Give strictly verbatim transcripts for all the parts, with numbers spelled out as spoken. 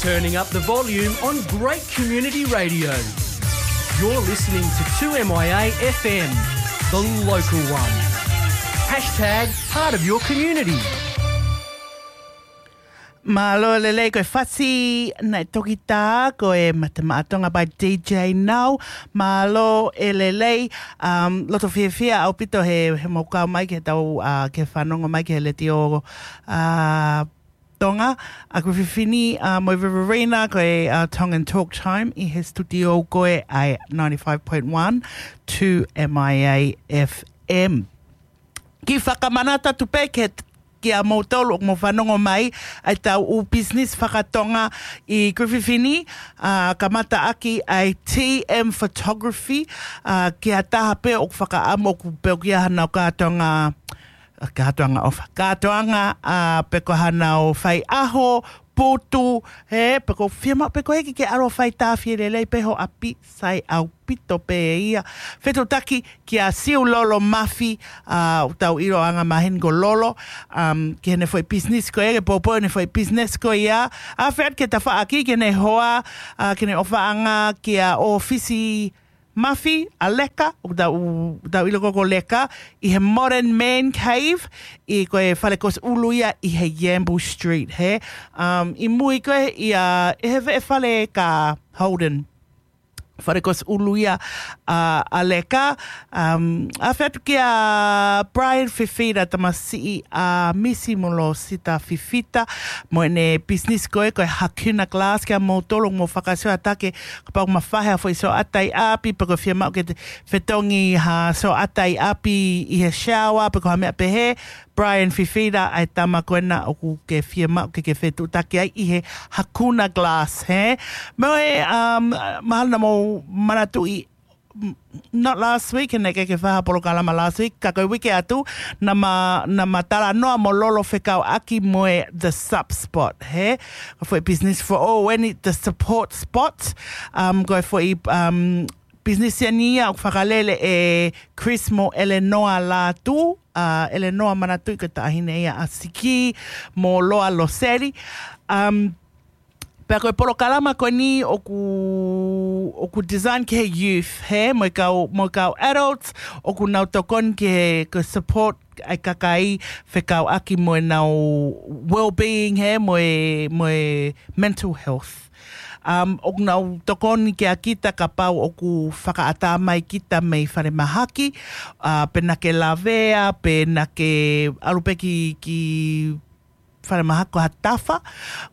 Turning up the volume on great community radio. You're listening to two M I A F M, the local one. Hashtag part of your community. Mālō e lelei, ko e fasi naʻe toki tā, ko e Mate Maʻa Tonga by D J Nau. Mālō e lelei, um, loto fiefia ʻaupito he, he mou kau mai ke tau, uh, ke fanongo mai ke he Letiō, uh, Tonga, ʻa Kuififini, uh, mo Riverina, ko e, uh, Tongan Talk Time, ʻi he studio ko ē ʻa e ninety-five point one two M I A F M. Kiʻi fakamanatu atu pē ke, kia moutolu ʻoku mou fanongo mai, ʻa e tau ʻū business fakatonga ʻi Kuififini, uh, kamata ʻaki ʻa e T M Photography, uh, ki ha taha pē ʻoku fakaʻamu ʻoku pē ʻoku ʻi ai hanau kātoanga, kātoanga ʻofa. Kātoanga, uh, pe ko hanau faiʻaho, putu, he, pe ko fiemaʻu, pe ko ʻeiki ke ʻalu ʻo fai tāfie lelei pē ho ʻapi, sai ʻaupito pē ia. Fetuʻutaki kia Siulolo Mafi, uh, ʻoku tau ʻiloʻi ʻa e maheni ko Lolo, um, ki heʻene foʻi business ko ia, ke poupou heʻene foʻi business ko ia. ʻAfeʻi atu ki he tafaʻaki, ki heʻene hoa, uh, ki heʻene ʻofaʻanga kia ʻŌfisi Mafi, ʻa Leka, ʻoku tau, tau ʻilo ko ē ko Leka, ʻi he Modern Man Cave, ʻi ko e fale kosi ʻulu ia ʻi he Yamble Street, he. Um, ʻi mui ko ē ia, ʻi he veʻe fale ka Holden. Fale kosi ʻulu ia, uh, ʻa Leka, um, ʻAfeʻi atu kia Brian Fifita, tamasiʻi ʻa Misi mo Losita Fifita, mo ʻene business ko ē, ko e Hakuna Glass, kia moutolu ʻoku mou fakasioʻatake, kapau ʻoku mafai ha foʻi sioʻata ʻi ʻapi, pe ko fiemaʻu ke te fetongi ha sioʻata ʻi ʻapi ʻi he shower, pe ko ha meʻa pehē, Brian Fifita, ʻa e tama ko ena ʻoku ke fiemaʻu ke ke fetuʻutaki ai ʻi he Hakuna Glass, he? Mo e, um, mahalo naʻa mou manatuʻi, m-, not last week, he naʻe ʻikai ke fai ha polokalama last week, ka ko e uike atu, naʻa ma, naʻa ma talanoa mo Lolo fekauʻaki mo e The Sup Spot, he? Ko e foʻi business for all, eni The Support Spot, um, ko e foʻi, um, business eni ia ʻoku fakalele ʻe Chris mo Eleanor Lātū, uh, Eleanor, manatuʻi ko e taʻahine ia ʻa Siki mo Loa Loseli. Um, pea ko e polokalama ko eni ʻoku, ʻoku design ki he youth, he, mo e kau, mo e kau adults, ʻoku nau tokoni ki he, ko e support ʻa e kakai fekauʻaki mo ʻenau well-being, he, mo e, mo e mental health. Um, ʻoku nau tokoni kia kita kapau ʻoku fakaʻatā mai kita mei falemahaki, uh, pe naʻa ke lavea, pe naʻa ke ʻalu pē ki, ki falemahaki ko ha tafa,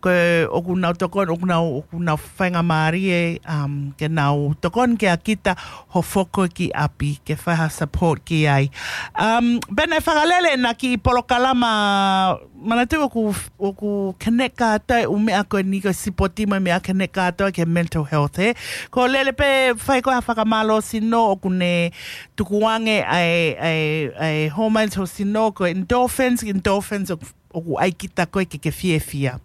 ko e ʻoku nau tokoni, ʻoku nau, ʻoku nau faingamālie, um, ke nau tokoni kia kita hoʻo foki ki ʻapi, ke fai ha support ki ai. Um, pea naʻe fakalele ʻena kiʻi polokalama, manatuʻi ʻoku, ʻoku connect kātoa e ʻū meʻa ko eni ko e sipoti mo e meʻa connect kātoa ki he mental health, he? Ko e lele pē fai ko ē ha fakamālōsino ʻoku ne tukuange ʻa e, ʻa e, ʻa e hormones ho sino ko e endorphins, endorphins ʻoku, ʻoku ʻai kita ko ē ke ke fiefia.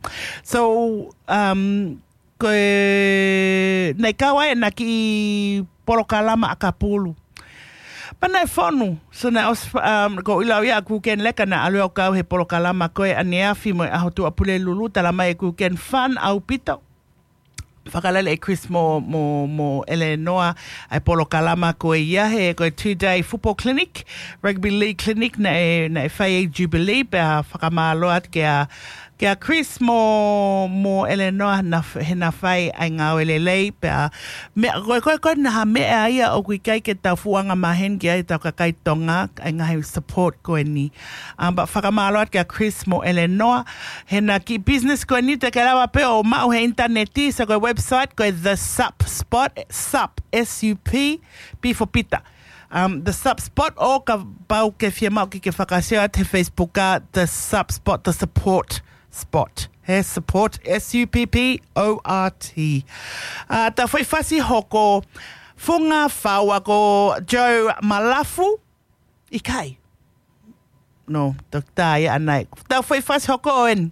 So, um, ko e, naʻe kau ai ʻena kiʻi polokalama ʻakapulu. Pea naʻe fonu, so naʻe ʻosi, um, ko e ʻilo ia ʻa Kuken Leka naʻe ʻalu ʻo kau he polokalama ko ē ʻaneafi mo e ʻaho Tuʻapulelulu, talamai ʻe Kuken fun ʻaupito. Fakalele ʻe Chris mo, mo, mo Eleanor ʻa e polokalama ko ia, he ko e two-day football clinic, rugby league clinic naʻe, naʻe fai ʻi Jubilee, pea fakamālō atu kia, kia Chris mo, mo Eleanor na f-, he na fai ʻa e ngāue lelei, pea meʻa, ko e, ko e, ko e naha meʻa ia ʻoku ʻikai ke tau fuʻu angamaheni ki ai ʻetau kakai Tonga, ʻa e ngaahi support ko eni. Um, pea fakamālō atu kia Chris mo Eleanor, he ʻena kiʻi business ko eni te ke lava pē ʻo maʻu he ʻinitaneti, so ko e website ko e The Sup Spot, Sup, S U P, P for Peter. Um, The Sup Spot, ʻo kapau ʻoku ke fiemaʻu ke ke fakasio atu he Facebook ʻa The Sup Spot, The Support Spot. He support, S U P P O R T. Uh, tau foʻi fasi hoko, funga fau ʻa ko Joe Malafu, ʻikai. No, toketā ia ʻanai. Tau foʻi fasi hoko eni.